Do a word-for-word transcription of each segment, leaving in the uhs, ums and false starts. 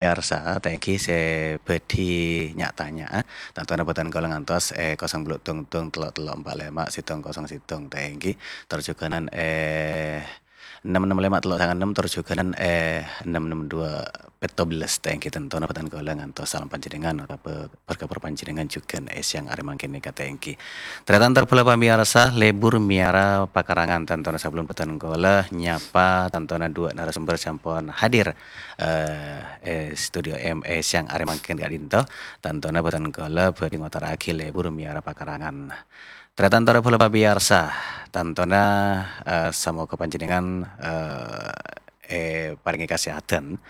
Pamiyarsa, thank you sè bhâdhi nya'-tanya'a. Tantona bhâdhân kaulâ ngantos è kosong bâllu' dong-dong tello' tello' empa' lèma' sèttong kosong sèttong, thank you. Tor jhughânan, eh, ennem ennem lèma' tello' sanga ennem, tor jhughânan, eh, ennem ennem dua pètto bellâs, thank you. Tantona bhâdhân kaulâ ngantos salam panjhennengngan, otabâ berkabar panjhennengngan jhughân è sèyang arè mangkèn nèka, thank you. Tarètan tor bhâlâ pamiyarsa, lebur mèyara pakarangan. Tantona sabellunna bhâdhân kaulâ nyapa tantona dua narasumber sè ampon hadir, eh, è studio M E sèyang arè mangkèn ka'dinto. Tantona bhâdhân kaulâ bhâdhi ngotarraghi lebur mèyara pakarangan. Tarètan tor bhâlâ pamiyarsa, tantona, eh, samoga panjhennengngan, eh, èparèngè kasèhadhân,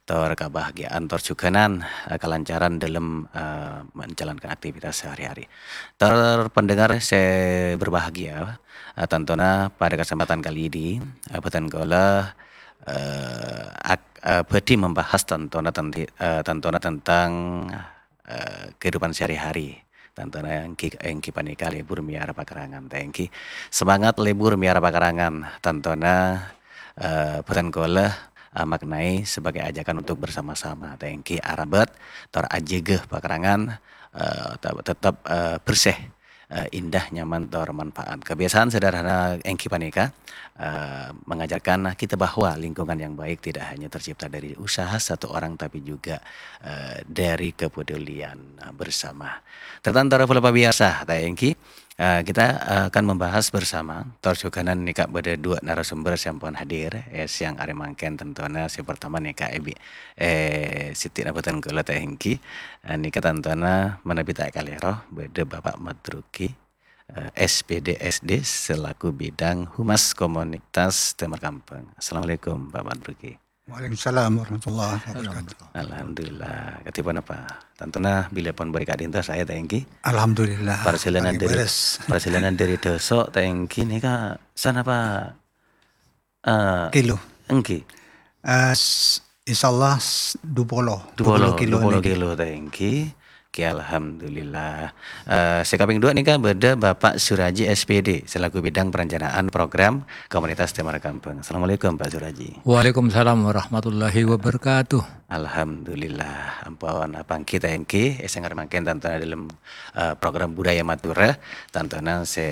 tor kabahagiya'an, tor jhughânan, eh, kalancaran dâlem, eh, menjalankan aktivitas sehari-hari. Tor pendengar sè berbahagia, eh, tantona pada kesempatan kali ini, eh, bhâdhân kaulâ, eh, ak-, eh, bhâdhi membahas tantona tenti-, eh, tantona tentang, eh, kehidupan sehari-hari. Tantona èngghi, èngghi panèka lebur mèyara pakarangan, thank you. Semangat lebur mèyara pakarangan, tantona, eh, bhâdhân kaulâ amaknaè sebagai ajakan untuk bersama-sama, thank you. Arambât, tor ajâgâ pakarangan, eh, te-, tetep, eh, bersih, eh, indah, nyaman, tor manfaat. Kebiasaan sederhana èngghi panèka, eh, mengajarkan kita bahwa lingkungan yang baik tidak hanya tercipta dari usaha satu orang, tapi juga, eh, dari kepedulian, eh, bersama. Tarètan tor bhâlâ pamiyarsa, ta' èngghi, eh, kita, eh, akan membahas bersama, tor jhughânan nèka bâdâ dua narasumber sè ampon hadir, eh, sèyang arè mangkèn tantona sè partama nèka Ebi, eh, sè dhina bhâdhân kaulâ ta' èngghi, eh, nèka tantona manabi ta' kalèro, bâdâ Bapak Madruki, eh, S P D S D selaku bidang Humas Komunitas Tèmor Kampèng. Assalamualaikum, Pak Madruki. Waalaikumsalam warahmatullahi wabarakatuh. Alhamdulillah. Kadhiponapa? Tantona bilâ pon bârâ' ka'dinto saè ta' èngghi. Alhamdulillah. Parjhâlânan dâri, parjhâlânan dâri Dâso' ta' èngghi nèka sanapa? Eh, kilo. Èngghi. Eh, s-, insyaallah s-, dua puluh, dua puluh, dua puluh kilo nèka. Dua puluh kilo ta' èngghi. Oke, alhamdulillah. Eh, sè kapèng dua nèka bâdâ Bapak Suraji S P D selaku bidang perencanaan program Komunitas Tèmor Kampèng. Assalamualaikum, Pak Suraji. Waalaikumsalam warahmatullahi wabarakatuh. Alhamdulillah. Ampon apangghi ta' èngghi, è sèyang arè mangkèn tantona dâlem, eh, program Budaya Madura, tantona sè,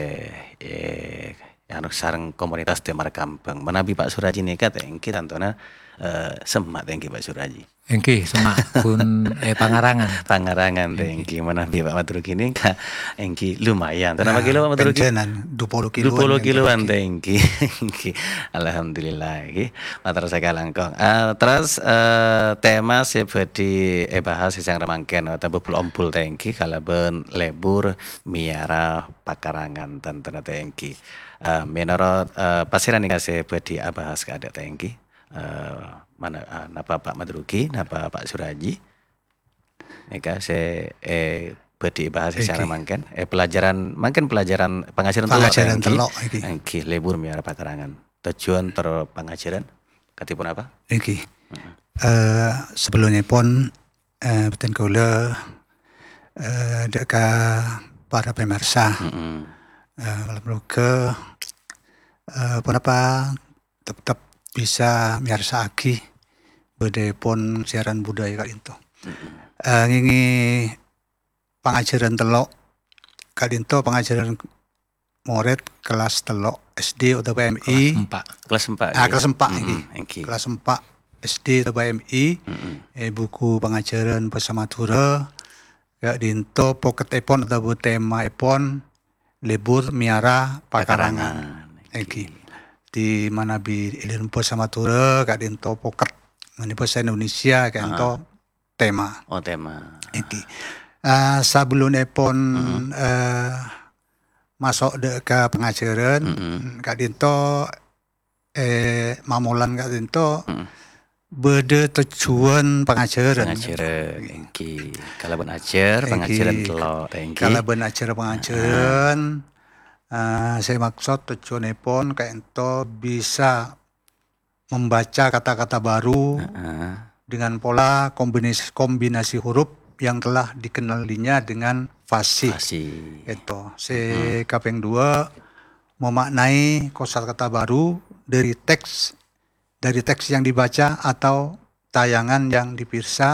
eh, anu, sareng komunitas Tèmor Kampèng. Manabi Pak Suraji nèka ta' èngghi tantona, eh, semma' ta' èngghi Pak Suraji. Èngghi, semma' pon, eh, pangarangan. Pangarangan ta' èngghi. Èngghi, manabi Pak Madruki nèka èngghi lumayan. Tantona, nah, kilo Pak Madruki? Panjhennengngan dua puluh kiloan. Dua puluh kiloan ta' èngghi. Èngghi. Alhamdulillah, èngghi. Mator sakalangkong. Ah, terros, eh, tema sè bhâdhi èbahas sè sèyang arè mangkèn, otabâ bul-ombul ta' èngghi, kalabân lebur mèyara pakarangan tantona ta' èngghi. Eh, mènorot, eh, pasèra nèka sè bhâdhi abahas kaadâ' ta' èngghi? Eh, mana, eh, napa Pak Madruki, napa Pak Suraji? Nèka sè, eh, bhâdhi èbahas sè sèyang arè mangkèn. Eh, pelajaran, mangkèn pelajaran pangajhârân tello' ta' èngghi? Pangajhârân tello' èngghi. Èngghi, lebur mèyara pakarangan. Tujuan tor pangajhârân kadhiponapa? Èngghi. Eh, sabellunèpon, eh, bhâdhân kaulâ, eh, dâ' ka para pamèrsa. Mm-mm. Eh, moghâ-moghâ, eh, ponapa teptep bisa mèyarsa'aghi bhâdhâèpon siaran budaya ka'dinto. Mm-mm. Eh, ngèngè pangajhârân tello', ka'dinto pangajhârân morèd kellas tello' S D otabâ M I. Kellas empa'. Kellas empa', ah, ngghi. Kellas empa', mm-mm, ngghi. Èngghi. Kellas empa' S D otabâ M I, mm-mm, è buku pangajhârân bhâsa Madhurâ, ka'dinto pokettèpon otabâ temaèpon lebur mèyara pakarangan. Pakarangan, èngghi. Èngghi. Di manabi è dâlem bhâsa Madhurâ, ka'dinto poket. Manabi bhâsa Indonesia, ka'dinto, ah, tema. Oh, tema. Èngghi. Ah, sabellunèpon, mm-mm, eh, maso' dâ' ka pangajhârân, mm-mm, ka'dinto, eh, mamolan ka'dinto, mm-mm, bâdâ tojjhuwân pangajhârân. Pangajhârân, èngghi. Kalabân ajhâr, èngghi, pangajhârân tello', èngghi. Kalabân ajhâr pangajhârân, ah, sè maksod tojjhuwânèpon ka'dinto bisa membaca kata-kata baru, heeh, dengan pola kombinis-, kombinasi huruf yang telah dikenalinya dengan fasih. Fasih. Ènto. Sè, hmm, kapèng dua, memaknai kosakata baru dari teks, dari teks yang dibaca atau tayangan yang dipirsa